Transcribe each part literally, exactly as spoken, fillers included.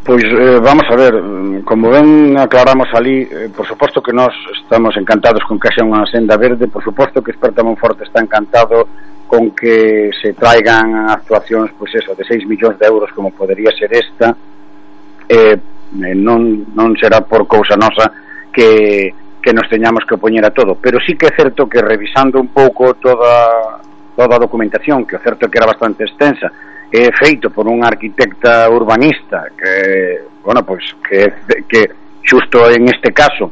Pois eh, vamos a ver, como ben aclaramos ali, eh, por suposto que nós estamos encantados con que haxa unha senda verde, por suposto que Esperta Monforte está encantado con que se traigan actuacións, pois eso, de seis millóns de euros como podería ser esta, eh, non, non será por cousa nosa que, que nos teñamos que opoñer a todo, pero sí que é certo que revisando un pouco toda, toda a documentación, que o certo é que era bastante extensa, é feito por unha arquitecta urbanista que, bueno, pois que, que xusto en este caso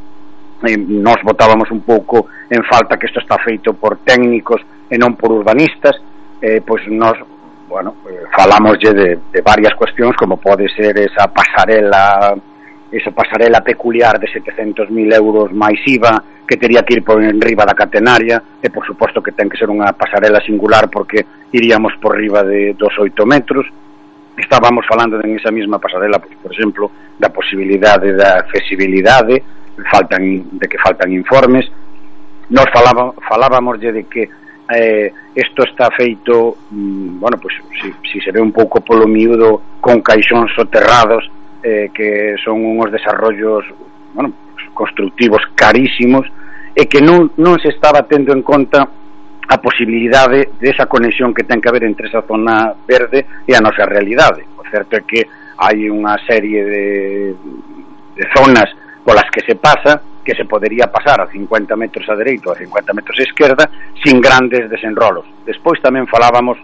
eh, nos botábamos un pouco en falta que isto está feito por técnicos e non por urbanistas, eh, pois nos, bueno, eh, falámoslle de, de varias cuestións, como pode ser esa pasarela esa pasarela peculiar de setecentos mil euros máis I V A que tería que ir por enriba da catenaria, e por suposto que ten que ser unha pasarela singular porque iríamos por riba de dos oito metros. Estábamos falando en esa mesma pasarela, pois, por exemplo, da posibilidade da accesibilidade, faltan, de que faltan informes. Nos falaba, falábamos de que eh, isto está feito, mm, bueno, pois si, si se ve un pouco polo miúdo, con caixóns soterrados, eh, que son uns desarrollos, bueno, constructivos carísimos, e que non, non se estaba tendo en conta a posibilidade desa conexión que ten que haber entre esa zona verde e a nosa realidade. O certo é que hai unha serie de, de zonas polas que se pasa, que se podería pasar a cincuenta metros a dereita ou a cincuenta metros a esquerda sin grandes desenrolos. Despois tamén falábamos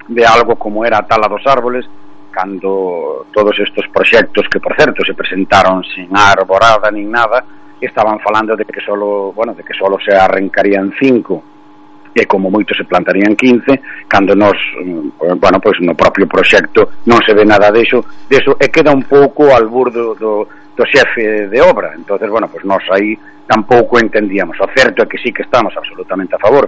de algo como era a tala dos árboles, cando todos estes proxectos que, por certo, se presentaron sin arborada nin nada, estaban falando de que solo, bueno, de que solo se arrancarían cinco e como moito se plantarían quince, cando nos, bueno, pois no propio proxecto non se ve nada deso, deso e queda un pouco al burdo do, do xefe de obra. Entonces, bueno, pois nós aí tampouco entendíamos. O certo é que sí que estamos absolutamente a favor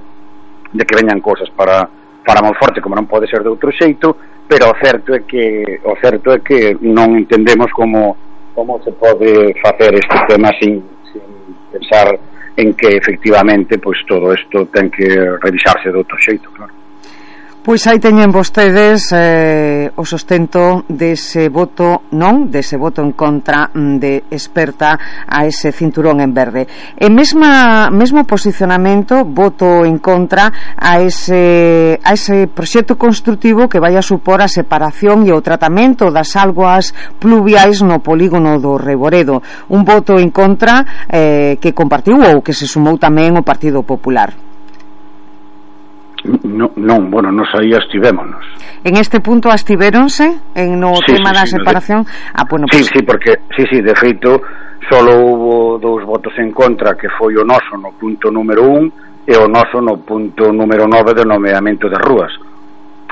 de que veñan cousas para para Monforte, como non pode ser de outro xeito, pero o certo é que o certo é que non entendemos como como se pode facer este tema sin, sin pensar en que efectivamente pois todo isto ten que revisarse de outro xeito, claro. Pois aí teñen vostedes eh, o sustento dese voto non, dese voto en contra de Esperta a ese cinturón en verde. E mesma, mesmo posicionamento, voto en contra a ese, a ese proxecto construtivo que vai a supor a separación e o tratamento das augas pluviais no polígono do Reboredo. Un voto en contra eh, que compartiu ou que se sumou tamén o Partido Popular. No, non, bueno, nos aí estivémonos. En este punto estivéronse en no sí, tema sí, da sí, separación. De... Ah, bueno, sí, pues... sí, porque sí, sí, de feito solo hubo dous votos en contra, que foi o noso no punto número un e o noso no punto número nove do nomeamento das rúas.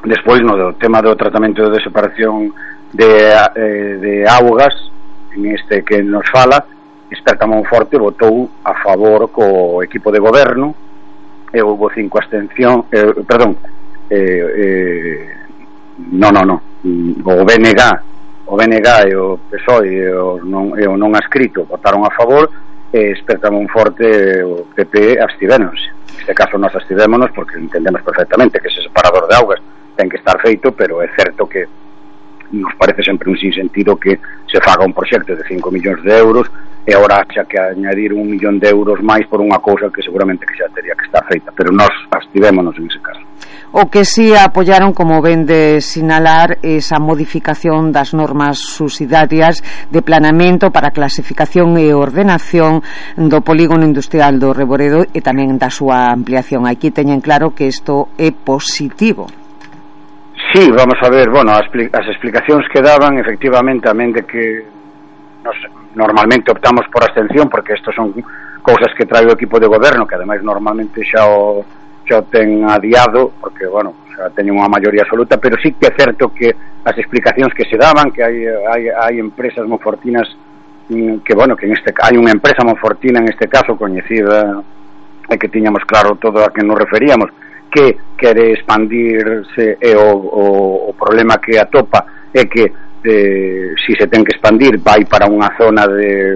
Despois no do tema do tratamento de separación de, eh, de augas, en este que nos fala, Esperta Monforte votou a favor co equipo de goberno e houve cinco abstención, eh, perdón, eh, eh, no, no, no, o B N G, o B N G e o P S O E e o non, e o non adscrito votaron a favor, e Esperta Monforte e o P P abstivéronse. Neste caso nós abstivémonos porque entendemos perfectamente que ese separador de augas ten que estar feito, pero é certo que nos parece sempre un sinsentido que se faga un proxecto de cinco millóns de euros e agora xa que añadir un millón de euros máis por unha cousa que seguramente que xa teria que estar feita, pero nós abstivémonos en ese caso. O que sí apoyaron, como ven de sinalar, esa modificación das normas subsidiarias de planeamento para clasificación e ordenación do polígono industrial do Reboredo e tamén da súa ampliación. Aquí teñen claro que isto é positivo. Sí, vamos a ver, bueno, as, as explicacións que daban, efectivamente, tamén de que nos, normalmente optamos por abstención, porque estos son cousas que trae o equipo de goberno, que ademais normalmente xa o, xa o ten adiado, porque, bueno, xa teñen unha maioría absoluta, pero sí que é certo que as explicacións que se daban, que hai, hai, hai empresas monfortinas, que, bueno, que en este hai unha empresa monfortina, en este caso, coñecida, e que tiñamos claro todo a que nos referíamos, que quere expandirse e o, o, o problema que atopa é que eh, si se ten que expandir vai para unha zona de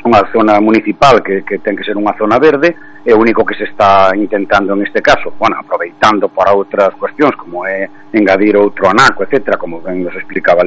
unha zona municipal que, que ten que ser unha zona verde, e o único que se está intentando en este caso, bueno, aproveitando para outras cuestións como é engadir outro anaco, etcétera, como ben nos explicaba ali